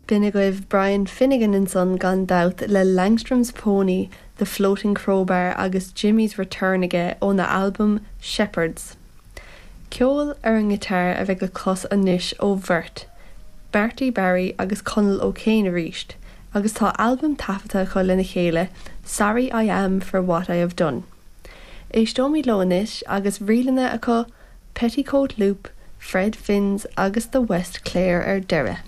B'in agaibh Brian Finnegan ansan gan dabht le Langstrom's Pony, The Floating Crowbar agus Jimmy's Return aige óna albam Shepherds. Ceol ar an ngiotár a bheidh le clos anois ó bheirt, Marty Barry agus Conall O'Kane arís, agus tá albam taifeadta acu lena chéile, Sorry I Am For What I Have Done. Éisteoimid leo anois agus ríleanna acu, Petticoat Loop, Fred Finn's agus The West Clare ar deireadh.